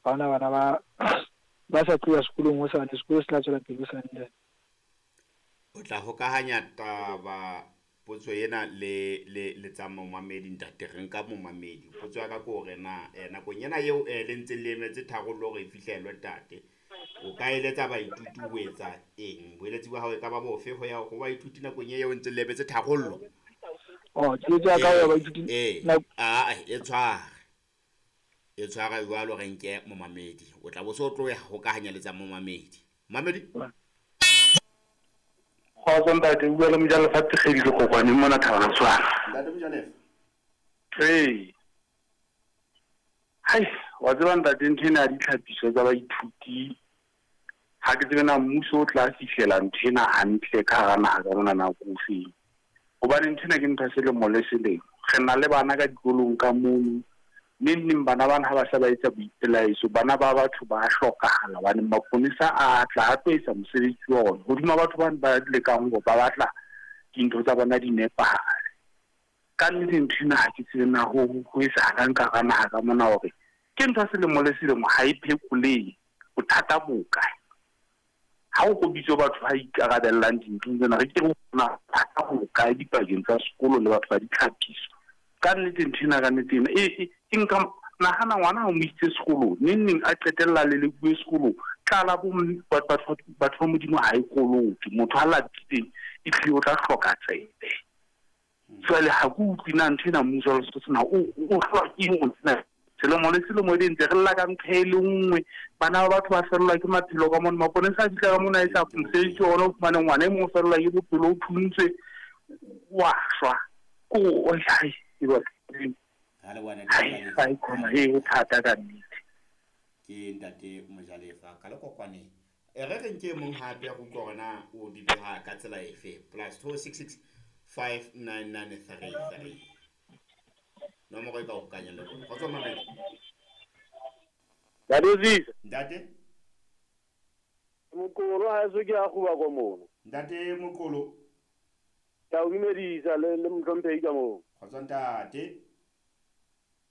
Ha hona bana ba ba sa tlo ya sekolong hosane, sekolo se tla tswela pele hosane ntate. O tla hokahanya taba potso ena le le le tsa momamedi ntate, re nka momamedi. Potso ya ka ke hore na nakong ena eo le ntseng le emetse tharollo hore e fihlellwe ntate, o ka eletsa baithuti ho etsa eng? Boeletsi ba hao e ka ba bofe ho ya ho baithuti nakong eo ntseng le emetse tharollo? Oh, keletso ya ka ho ya baithuti A e tshware. E tshwara jwalo re nke momamedi. O tla bo so tlo ya hokahanya le tsa momamedi. Momamedi? Kgotso ntate, o bua le Mojalefa Thekgedi Lekokwaneng mona Thabana Tshwana. Ntate Mojalefa. Ee. Hai, wa tseba ntate ntho ena ya ditlhapiso tsa baithuti ha ke tsebe na mmuso o tla fihlela ntho ena hantle ka hara naha ka mona nako ofeng. Hobane ntho ena ke ntho ya selemo le selemo. Re na le bana ka dikolong ka mono. Neng neng bana bana ha ba se ba etsa boipelaetso, bana ba batho ba hlokahala hobane maponesa a tla a tlo etsa mosebetsi wa ona hodima batho bane ba lekang hore ba batla dintho tsa bona di nepahale. Ka nnete ntho ena ha ke tsebe na ho ho etsahalang ka hara naha ka mona hore ke ntho ya selemo le selemo ha e phekolehe. Bothata bo kae? Ha o ko bitswe batho ba ikarabellang dinthong tsena, re ke re na bothata bo kae dipakeng tsa sekolo le batho ba ditlhapiso. Ka nnete ntho ena ka nnete ena e e nka nahana ngwana ha o mo isitse sekolong neng neng a qetella a lelekuwe sekolong. Tlala bo batho batho ba Modimo ha e kolote. Motho ha lapileng ehlile o tla hloka tsebe. Jwale ha ke utlwe na ntho ena mmuso wa Lesotho sena o o hlolwa ke eng ho tsena selemo le selemo ebe ntse re lla ka ntho e le nngwe. Bana ba batho ba fellwa ke maphelo ka mona, maponesa a fihla ka mona a etsa mosebetsi wa ona, o fumane ngwana e mong o fellwa ke bophelo, o thuntswe, wa shwa. Ko hai hai hai khona e ho thata ka nnete. Ke ntate Mojalefa ka Lekokwaneng. E re re nke e mong hape re utlwe hore na o di beha ka tsela efe. Plus 266 59933. Nomoro e ka hokanya le rona. Kgotso Mamedi. Ntate Zisa. Ntate. Moqolo ha eso ke a kguba ko mono. Ntate Moqolo. Ke a o dumedisa le le mohlomphehi ka moo. Kgotso ntate.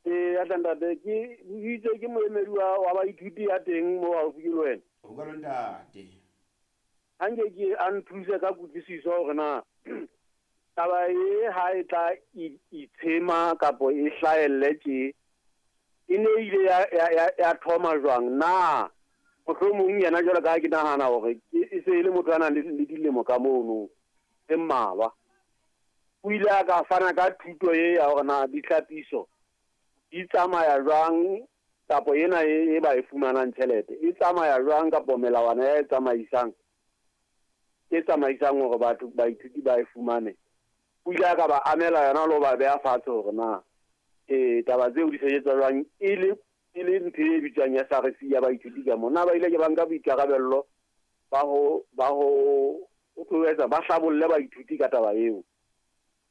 Ee, ya tla ntate, ke itse ke moemedi wa wa baithuti ya teng mo haufi ke le wena. Ho jwalo ntate. Ha nke ke a nthuse ka kutlwisiso hore na taba e ha e tla itshema kapo e hlahelle tje e ne ile ya ya ya, ya thoma jwang na mohlomong yena jwalo ka ha ke nahana hore ke e se e le motho a nang le le dilemo ka mono tse mmalwa. O ile a ka fana ka thuto e ya hore na ditlhapiso di tsamaya jwang kapo ena e, e ba e fumanang tjhelete e tsamaya jwang kapo melawana ya e tsamaisang e tsamaisang hore batho baithuti ba e fumane. O ile a ka ba amela yona le ho ba beha fatshe hore na e taba tseo di sebetsa jwang e le e le ntho e bitswang SRC ya baithuti ka moo. Na ba ile ke ba nka boikarabello ba ho ba ho ho etsa ba hlabolle baithuti ka taba eo.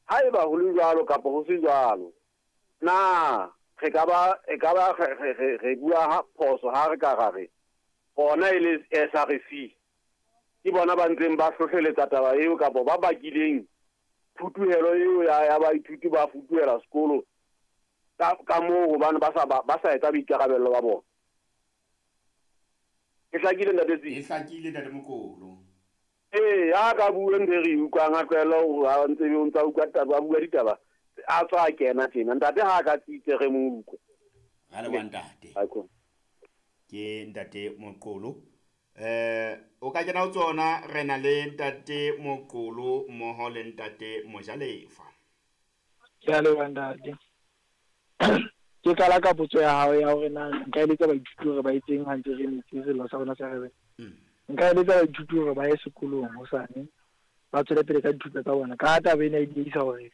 Haeba ho le jwalo kapa ho se jwalo, na re ka ba e ka ba re re re bua phoso ha re ka ra re bona e le SRC ke bona ba ntseng ba hlohleletsa taba eo kapa ba bakileng phutuhelo eo ya ya baithuti ba futuhela sekolo ka ka moo hobane ba sa ba sa etsa boikarabello ba bona. E hlakile ntate Tsi? E hlakile ntate Mokolo. Ee, a ka bue ntho e re e utlwang, a tlohele ho a ntse o ntsa utlwa taba, a bua ditaba a tswa a kena tjena. Ntate ha a ka tsitse re mo utlwe. Ra leboha ntate. Ke ntate Moqolo. Eh o ka kena ho tsona re na le ntate Moqolo mmoho le ntate Mojalefa. Ke a leboha ntate. Ke qala ka potso ya hao ya hore na nka eletsa baithuti hore ba etseng ha ntse re emetse sello sa rona sa rebe. Nka eletsa baithuti hore ba ye sekolong hosane, ba tswele pele ka dithuto tsa bona. Ka ha taba ena e diehisa hore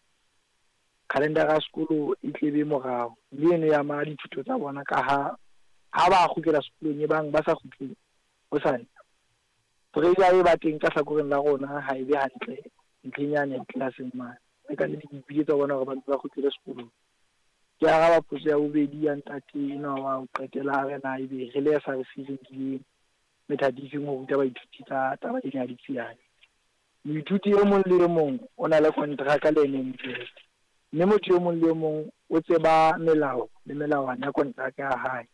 khalendara ya sekolo e tle be morao, mme eno e ama dithuto tsa bona ka ha ha ba kgutlela sekolong e bang ba sa kgutle hosane, pressure e ba teng ka hlakoreng la rona ha e be hantle ntlheng yane tlelaseng mane. Le ka nnete ke ipiletsa ho bona hore ba mpe ba kgutlele sekolong. Ke araba potso ya bobedi ya ntate enwa wa ho qetela a re na ebe re le SRC re nkile methati e feng ho ruta baithuti ka taba ena ya ditsiane. Moithuti e mong le e mong o na le kontraka le NMZ, mme motho e mong le e mong o tseba melao le melawana ya kontraka ya hae.